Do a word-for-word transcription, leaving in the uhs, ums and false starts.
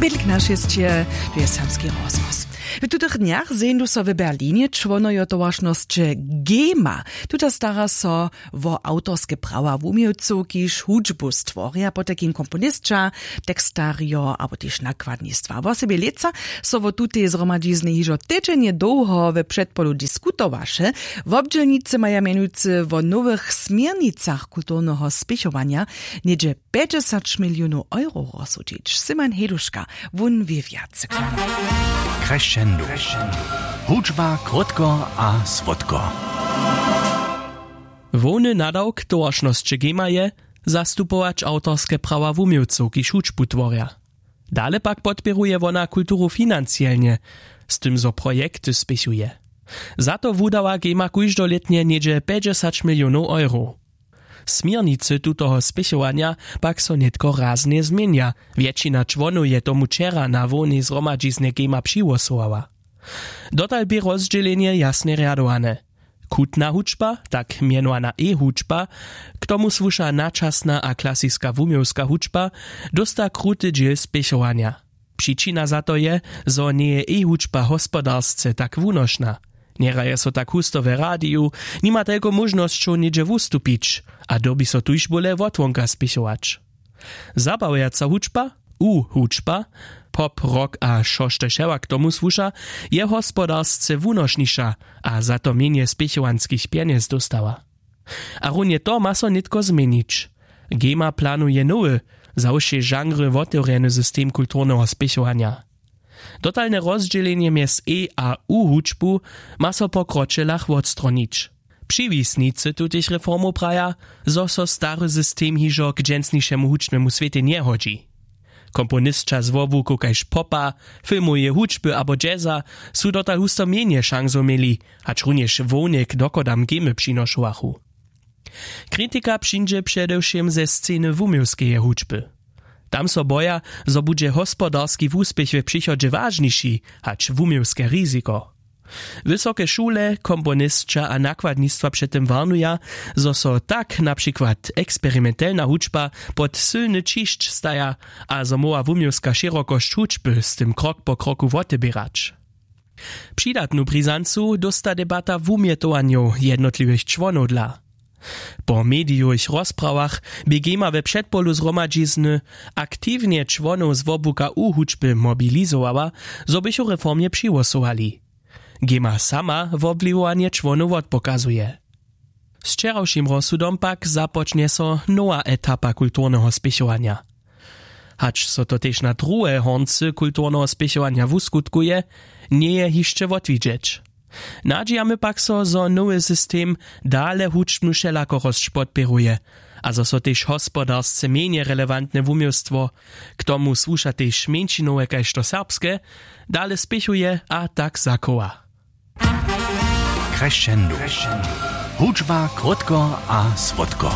Bědlik na šesće, tu je serbski rozhłos. W tutych dnjach zeńdu so w Berlinje čłonojo towaršnosće gema. Tuta stara so wo awtorske prawa wuměłcow, kiž hudźbu stworja, potajkim komponisća, tekstarjo abo tež nakładnistwa. Wosebje lětsa so wo tutej zhromadźizny hižo tydźenje dołho we předpolu diskutowaše. Wobdźělnicy maja mjenujcy wo nowych směrnicach kulturneho spěchowanja něhdźe pjećdźesać milionow euro rozsudźić. Simon Heduška, wón wě wjace. Crescendo. Hudźba krótko a słodko. Hłowny nadawk towaršnosće gema je, zastupować awtorske prawa wuměłcow, kiž hudźbu tworja. Dale pak podpěruje wona kulturu financielnje, z tym zo projekty spěchuje. Za to wudawa gema kóždolětnje něhdźe pjećdźesać milionow euro. Směrnicy tutoho spěchowanja pak so nětko raznje změnja. Wjetšina čłonow je tomu wčera na hłownej zhromadźiznje gema přihłosowała. Dotal bě rozdźělenje jasnje rjadowane. Chutna hudźba, tak mjenowana e-hudźba, k tomu słuša načasna a klasiska wuměłska hudźba, dósta kruty dźěl spěchowanja. Přičina za to je, zo njeje e-hudźba hospodarsce tak wunošna. Njehraje so tak husto w radiju, nima telko móžnosćow něhdźe wustupić a dyrbi so tuž bóle wotwonka spěchować. Zabawjaca hudźba, u-hudźba, pop, rock a štož wšelak k tomu słuša, je hospodarsce wunošniša a za to mjenje spěchowanskich pjenjez dóstała. A runje to ma so nětko změnić. Gema planuje nowy, za wšě žanry wotewrjeny system kulturneho spěchowanja. Dotalne rozdźělenje mjez e a u hudźbu ma so po kročelach wotstronić. Přiwisnicy tutych reformow praja, zo so stary system hižo k dźensnišemu hudźbnemu swětej njehodźi. Komponisća z wobłukow kaž popa, filmoweje hudźby abo jazza su dotal husto mjenje šansow měli, hač runjež hłowne k dochodam gemy přinošowachu. Kritika přińdźe předewšěm ze sceny wuměłskeje hudźby. Tam so boja, zo budźe hospodarski wuspěch w přichodźe wažniši hač wuměłske riziko. Wysoke šule, komponisća a nakładnistwa před tym warnuja, zo so tak na přikład eksperimentelna hudźba pod sylny ćišć staja a zo móhła wuměłska šěrokosć hudźby z tym krok po kroku woteběrać. Přidatnu brizancu dósta debata wumjetowanjow jednotliwych čłonow dla. Po medijowych rozprawach bě gema we předpolu zhromadźizny aktiwnje čłonow z wobłuka u hudźby mobilizowała, zo bychu reformje přihłosowali. Gema sama wobwliwowanje čłonow wotpokazuje. Z wčerawšim rozsudom pak započnje so nowa etapa kulturneho spěchowanja. Hač so to tež na druhe horncy kulturneho spěchowanja wuskutkuje, njeje hišće wotwidźeć. Nadźijamy pak so, zo nowy system dale hudźbnu wšelakorosć podpěruje a zo so tež hospodarsce mjenje relewantne wuměłstwo, k tomu słuša tež mjeńšinowe kaž to serbske, dale spěchuje a tak zachowa. Crescendo. Hudźba krótko a słodko.